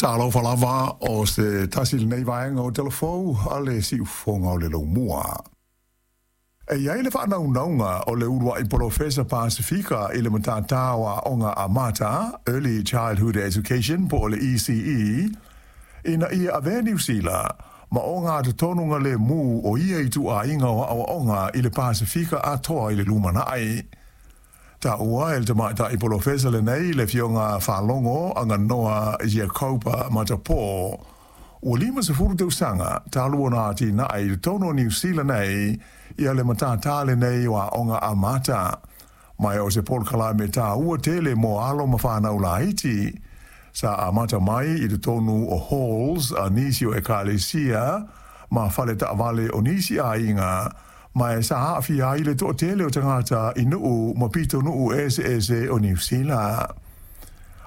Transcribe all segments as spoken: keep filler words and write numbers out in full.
Talofa lava o se tasi lenei vaega o Talafou a le siufofoga o le laumua. E i ai le faanaunauga o le uluai polofesa Pasifika i le matata o Aoga Amata, Early Childhood Education po o le E C E, ina ia avea Niu Sila ma ogatotonuga lemu o ia ituaiga o aoaoga i le Pasifika atoa i le lumanai. Taua e le tamaitai polofesa lenei le afioga Faalogo Aganoa Iakoba Matapo, ua limasefulu tausaga talu ona atinae i totonu o Niu Sila nei ia le matata lenei o Aoga Amata, ma o se polokalame taua tele mo alo ma fanau laiti. Sa amata mai i totonu o halls a nisi o ekalesia ma fale taavale o nisi aiga, ma e sa aafia ai le toatele o tagata i nuu ma pitonuu eseese o Niu Sila.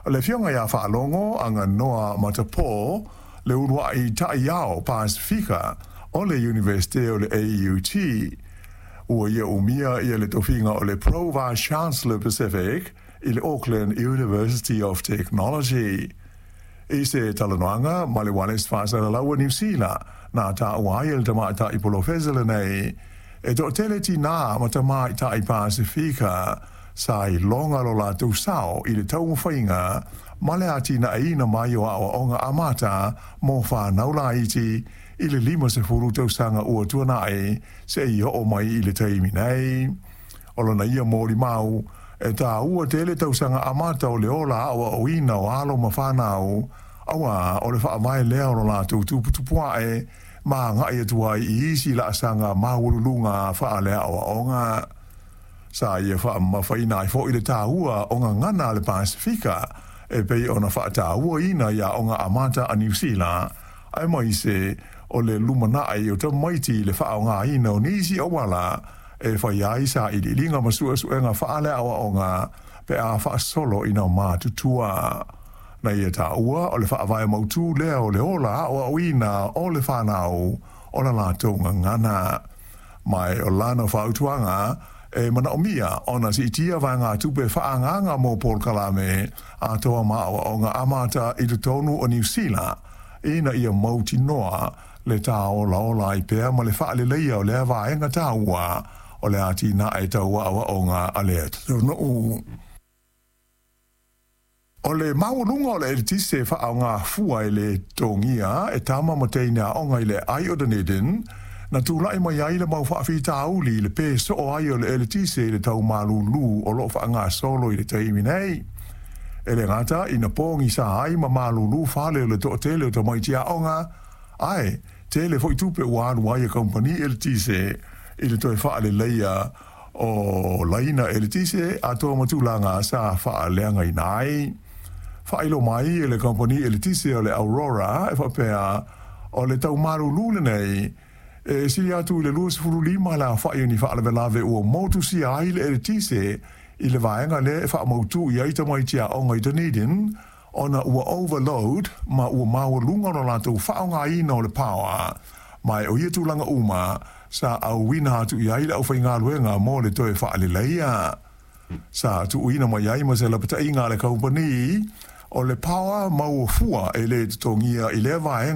O le afioga ia Faalogo Aganoa Matapo, le uluai taiao Pasifika o le Universite o le A U T, ua ia umia ia le tofiga o le Pro Vice Chancellor Pacific i le Auckland University of Technology. I se talanoaga ma le Ualesi Faasalalaua Niu Sila, na taua ai e le tamaitai polofesa lenei, e toatele tinā ma tamaitai Pasifika sa iloga lo latou sao i le taumafaiga ma le atinaeina mai o aoaoga amata mo fanau laiti i le limasefulu tausaga ua tuanai seia oo mai i le taimi nei. O lona ia molimau, e taua tele tausaga amata o le ola aoaoina o alo ma fanau, auā o le faavae lea o lo latou tuputupuae ma agai atu ai i isi laasaga maualuluga faaleaoaoga. Sa ia faamamafaina ai foi le taua o gagana a le Pasifika e pei ona faatauaina i aoga amata a Niu Sila, aemaise o le lumanai o tamaiti i le faaaogaina o nisi auala e fai ai sailiiliga ma suesuega faaleaoaoga pe a faasolo ina matutua. Na ia taua o le faavae mautū lea o le ola aoaoina o le fanau o la latou gagana. Ma e o lana fautuaga e manaomia ona siitia vaegatupe faaagaaga mo polokalame atoa ma aoaoga amata i totonu o Niu Sila, ina ia mautinoa le tāolaola ai pea ma le faaleleia o lea vaega taua o le atinae tau aoaoga a le atunuu. O le maualuga o le eletise faaaogafua e lē totogia e tama ma teine aoga i le ai o Dunedin, na tulai mai ai le mau faafitauli i le pē soo ai o le eletise i le tau malūlū o loo faagasolo i le taimi nei. E le gata ina pogisa ai ma malūlū fale o le toatele o tamaiti aoga, ae tele foi tupe ua alu ai e kampani eletise i le toe faaleleia o laina eletise atoa ma tulaga sa faaleagaina ai. Faailoa mai e le kampani eletise o le Aurora e faapea o le tau malūlū lenei e sili atu i le luasefulu lima le aofai o ni faalavelave ua motusia ai le eletise i le vaega lea e faamautū i ai tamaiti aoga i Dunedin, ona ua overload ma ua maualuga lo latou faaaogaina o le power, ma e o ia tulaga uma sa auina atu i ai le aufaigaluega mo le toe faaleleia. Sa tuuina mai ai ma se lapataiga a le kampani o le power maua fua e lē totogia i lea vaega.